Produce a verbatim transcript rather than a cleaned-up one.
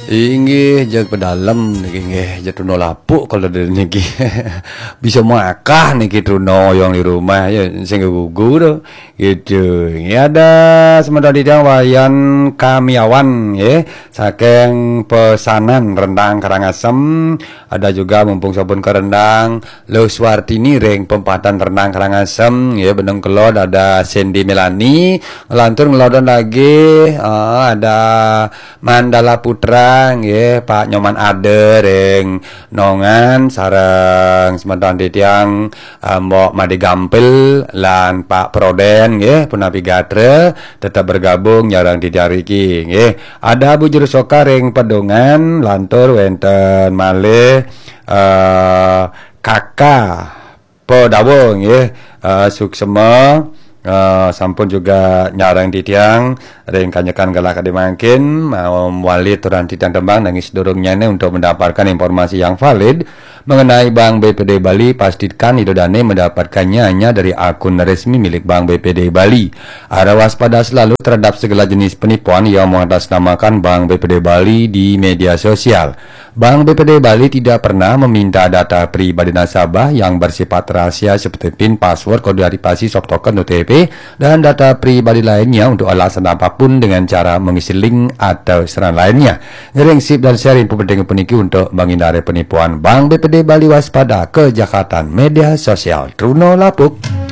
Inggih, jeg pedalem niki, inggih, jeg Truno Lapuk kalau dari niki. Bisa makah niki Truno yang di rumah ya, sing gugu tu. Gitu. Ini ada sementara di Wayan Kamiawan, ya. Saking pesanan Rendang Karangasem, ada juga mumpung sabun ke Rendang, Lo Suartini ring pempatan Rendang Karangasem, ya, Benung Kelod, ada Sandy Melani, lantur ngelodon lagi, ah, ada Mandala Putra, nggih, Pak Nyoman Ade ring Nongan, sareng semeton titiang, eh, Mbok Made Gampil lan Pak Proden, nggih, punapi gatra, tetep bergabung nyareng titiang riki, nggih. Ada Bu Juru Soka ring Pedungan, lantur wenten malih, eh, Kaka Pedawa, nggih. Eh, suksema, eh, sampun juga nyareng titiang ring kanyekan galah kadi mangkin, eh, wali turan titiang tembang nanging sedurungnyane untuk mendapatkan informasi yang valid mengenai Bank B P D Bali, pastikan Ida Dane mendapatkannya hanya dari akun resmi milik Bank B P D Bali. Harap waspada selalu terhadap segala jenis penipuan yang mengatasnamakan Bank B P D Bali di media sosial. Bank B P D Bali tidak pernah meminta data pribadi nasabah yang bersifat rahasia seperti pin, password, kode aktivasi, soft token, O T P, dan data pribadi lainnya untuk alasan apapun dengan cara mengisi link atau sarana lainnya. Ngiring sip dan share info penting puniki untuk menghindari penipuan. Bank B P D Bali, waspada kejahatan media sosial. Truno Lapuk.